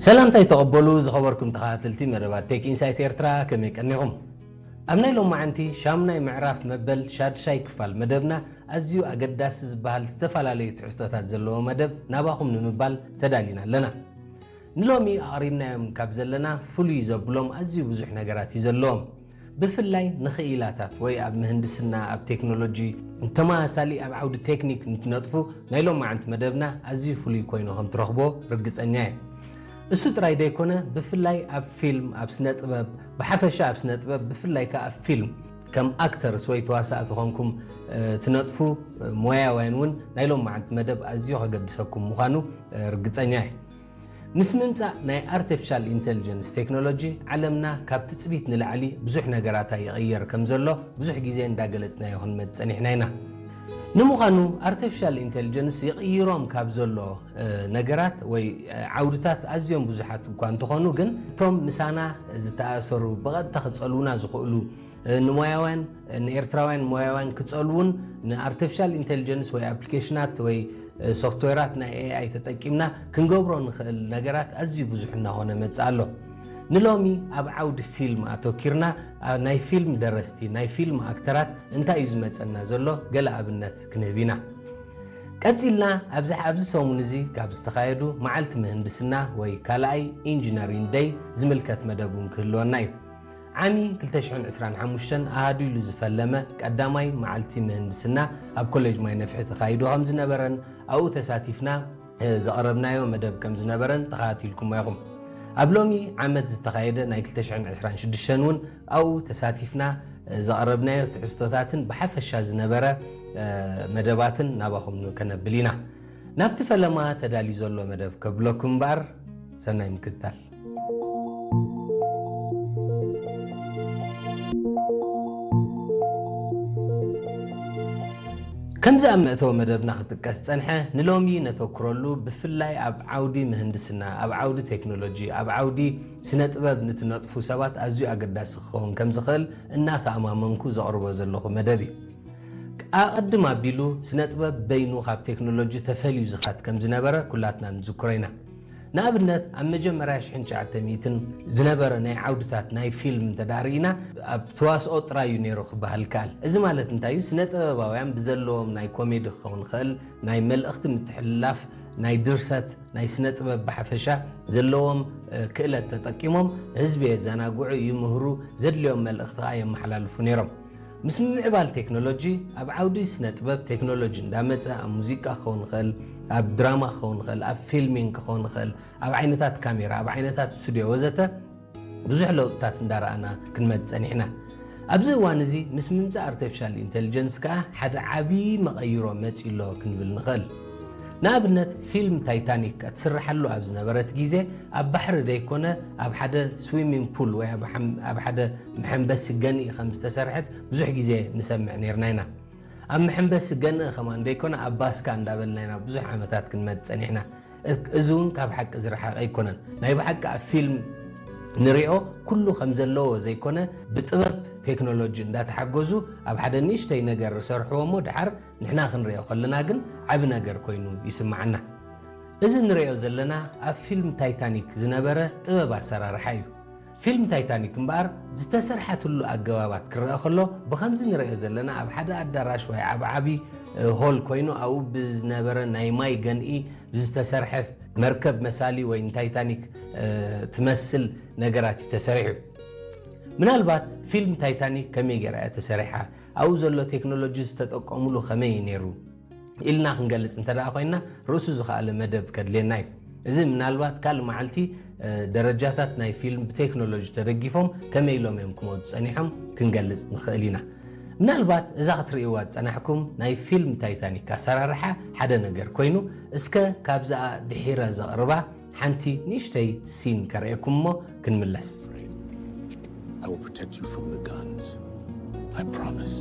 ሰላምታይ ተቐበሉ ዝኸበርኩም ተኸታተልቲ መደባት ቴክ ኢንሳይት ኤርትራ፣ ከመይ ቀኒኹም? ኣብ ናይ ሎማዓንቲ ሻሙናይ ምዕራፍ መበል ሻድሻይ ክፋል መደብና ኣዝዩ ኣገዳሲ ዝበሃል ዝተፈላለዩ ትሕዝቶታት ዘለዎ መደብ ናባኹም ንምባል ተዳሊና ኣለና። ንሎሚ ኣቕሪብናዮም ካብ ዘለና ፍሉይ ዘብሎም ኣዝዩ ብዙሕ ነገራት እዩ ዘለዎም። ብፍላይ ንኽኢላታት ወይ ኣብ ምህንድስና፣ ኣብ ቴክኖሎጂ፣ ተመሳሳሊ ኣብ ዓውዲ ቴክኒክ ንትነጥፉ ናይ ሎማዓንቲ መደብና ኣዝዩ ፍሉይ ኮይኑ ከም ትረኽቦ ርግጸኛ እየ። እሱ ጥራይ ዘይኮነ፣ ብፍላይ ኣብ ፊልም፣ ኣብ ስነ ጥበብ፣ ብሓፈሻ ኣብ ስነ ጥበብ፣ ብፍላይ ከኣ ኣብ ፊልም ከም ኣክተርስ ወይ ተዋሳእቲ ኮንኩም ትነጥፉ ሞያውያን እውን ናይ ሎማዓንቲ መደብ ኣዝዩ ከገድሰኩም ምዃኑ ርግጸኛ እየ። ምስ ምምጻእ ናይ ኣርቲፊሻል ኢንተሊጀንስ ቴክኖሎጂ፣ ዓለምና ካብ ትጽቢት ንላዕሊ ብዙሕ ነገራታ ይቕየር ከም ዘሎ ብዙሕ ግዜ እንዳገለጽናዮ ክንመጽእ ጸኒሕና ኢና። ንምዃኑ ኣርቲፊሻል ኢንተሊጀንስ ይቕይሮም ካብ ዘሎ ነገራት ወይ ዓውድታት ኣዝዮም ብዙሓት እኳ እንተኾኑ፣ ግን እቶም ምሳና ዝተኣሰሩ፣ ብቐጥታ ክጸልዉና ዝኽእሉ ንሞያውያን ንኤርትራውያን ሞያውያን ክጸልዉን ንኣርቲፊሻል ኢንተሊጀንስ ወይ ኣፕሊኬሽናት ወይ ሶፍትዌራት ናይ ኤኣይ ተጠቂምና ክንገብሮ ንኽእል ነገራት ኣዝዩ ብዙሕ እናኾነ መጽእ ኣሎ። ንሎሚ ኣብ ዓውዲ ፊልም ኣተኪርና፣ ናይ ፊልም ደረስቲ፣ ናይ ፊልም ኣክተራት እንታይ እዩ ዝመጸና ዘሎ ገለ ኣብነት ክንህብ ኢና። ቀጺልና ኣብዚ ኣብዚ ሰሙን እዚ ካብ ዝተኻየዱ መዓልቲ ምህንድስና ወይ ካልኣይ ኢንጂነሪንግ ደይ ዝምልከት መደብ እውን ክህልወና እዩ። ዓሚ ክልተ ሽሕን ዕስራን ሓሙሽተን ኣሃዱ ኢሉ ዝፈለመ ቀዳማይ መዓልቲ ምህንድስና ኣብ ኮሌጅ ማይ ነፍሒ ተኻይዱ ከም ዝነበረን ኣብኡ ተሳቲፍና ዘቕረብናዮ መደብ ከም ዝነበረን ተኸታቲልኩሞ ኢኹም። ኣብ ሎሚ ዓመት ዝተኻየደ ናይ ክልተ ሽሕን ዕስራን ሽዱሽተን እውን ኣብኡ ተሳቲፍና ዘቕረብናዮ ትሕዝቶታትን ብሓፈሻ ዝነበረ መደባትን ናባኹም ከነብል ኢና። ናብቲ ፈለማ ተዳልዩ ዘሎ መደብ ከብለኩም እምበኣር፣ ሰናይ ምክትታል። ከምዚ ኣብ መእተዊ መደብና ክጥቀስ ዝጸንሐ፣ ንሎሚ ነተኩረሉ ብፍላይ ኣብ ዓውዲ ምህንድስና፣ ኣብ ዓውዲ ቴክኖሎጂ፣ ኣብ ዓውዲ ስነ ጥበብ ንትነጥፉ ሰባት ኣዝዩ ኣገዳሲ ክኸውን ከም ዝኽእል እናተኣማመንኩ ዘቕርቦ ዘለኹ መደብ እዩ። ኣቐድም ኣቢሉ ስነ ጥበብ በይኑ ካብ ቴክኖሎጂ ተፈልዩ ዝኻድ ከም ዝነበረ ኩላትና ንዝክሮ ኢና። ንኣብነት ኣብ መጀመርያ ሽሕን ትሽዓተ ሚእትን ዝነበረ ናይ ዓውድታት ናይ ፊልም እንተ ደኣ ርኢና ኣብ ተዋስኦ ጥራይ እዩ ነይሩ ክበሃል ይከኣል። እዚ ማለት እንታይ እዩ? ስነ ጥበባውያን ብዘለዎም ናይ ኮሜዲ ክኸውን ይኽእል፣ ናይ መልእኽቲ ምትሕልላፍ፣ ናይ ድርሰት፣ ናይ ስነ ጥበብ ብሓፈሻ ዘለዎም ክእለት ተጠቂሞም ህዝቢ የዘናግዑ፣ ይምህሩ፣ ዘድልዮም መልእኽቲ ከኣ የመሓላልፉ ነይሮም። ምስ ምምዕባል ቴክኖሎጂ ኣብ ዓውዲ ስነ ጥበብ ቴክኖሎጂ እንዳመጸ ኣብ ሙዚቃ ክኸውን ይኽእል፣ ኣብ ድራማ ክኸውን ይኽእል፣ ኣብ ፊልሚንግ ክኸውን ይኽእል፣ ኣብ ዓይነታት ካሜራ፣ ኣብ ዓይነታት ስቱድዮ ወዘተ ብዙሕ ለውጥታት እንዳረኣና ክንመጽእ ጸኒሕና። ኣብዚ እዋን እዚ ምስ ምምጻእ ኣርቲፊሻል ኢንተሊጀንስ ከኣ ሓደ ዓቢ መቐይሮ መጺኡ ኣሎ ክንብል ንኽእል። ንኣብነት ፊልም ታይታኒክ ክትስርሓሉ ኣብ ዝነበረት ግዜ ኣብ ባሕሪ ደይኮነ ኣብ ሓደ ስዊሚንግ ፑል ወይ ኣብ ሓደ መሐንበሲ ገንኢ ከም ዝተሰርሐት ብዙሕ ግዜ ንሰምዕ ነይርና ኢና። ኣብ መሐንበሲ ገንኢ ከማን ደይኮነ ኣብ ባስካ እንዳበልና ኢና ብዙሕ ዓመታት ክንመጽእ ጸኒሕና። እዚ እውን ካብ ሓቂ ዝረሓቐ ኣይኮነን። ናይ ብሓቂ ኣብ ፊልም ንሪኦ ኩሉ ከም ዘለዎ ዘይኮነ ብጥበብ ቴክኖሎጂ እንዳተሓገዙ ኣብ ሓደ ንእሽተይ ነገር ዝሰርሕዎ እሞ ደሓር ንሕና ክንሪኦ ከለና ግን ዓቢ ነገር ኮይኑ ይስምዓና። እዚ ንሪኦ ዘለና ኣብ ፊልም ታይታኒክ ዝነበረ ጥበብ ኣሰራርሓ እዩ። ፊልም ታይታኒክ እምበኣር ዝተሰርሓትሉ ኣገባባት ክረአ ከሎ ብኸምዚ ንሪኦ ዘለና ኣብ ሓደ ኣዳራሽ ወይ ዓቢ ዓቢ ሆል ኮይኑ ኣብኡ ብዝነበረ ናይ ማይ ገንኢ ብዝተሰርሐ መርከብ መሳሊ ወይ ንታይታኒክ ትመስል ነገራት እዩ ተሰሪሑ። ምናልባት ፊልም ታይታኒክ ከመይ ገይራ እያ ተሰሪሓ፣ ኣብኡ ዘሎ ቴክኖሎጂ ዝተጠቀሙሉ ከመይ እዩ ነይሩ ኢልና ክንገልጽ እንተ ደኣ ኮይንና ርእሱ ዝኸኣለ መደብ ከድልየና እዩ። እዚ ምናልባት ካልእ መዓልቲ ደረጃታት ናይ ፊልም ብቴክኖሎጂ ተደጊፎም ከመይ ኢሎም እዮም ክመጹ ጸኒሖም ክንገልጽ ንኽእል ኢና። ምናልባት እዛ ክትርእይዋ ዝጸናሕኩም ናይ ፊልም ታይታኒክ ኣሰራርሓ ሓደ ነገር ኮይኑ፣ እስከ ካብዛኣ ድሒረ ዘቕርባ ሓንቲ ንእሽተይ ሲን ከርእየኩም እሞ ክንምለስ። I will protect you from the guns. I promise.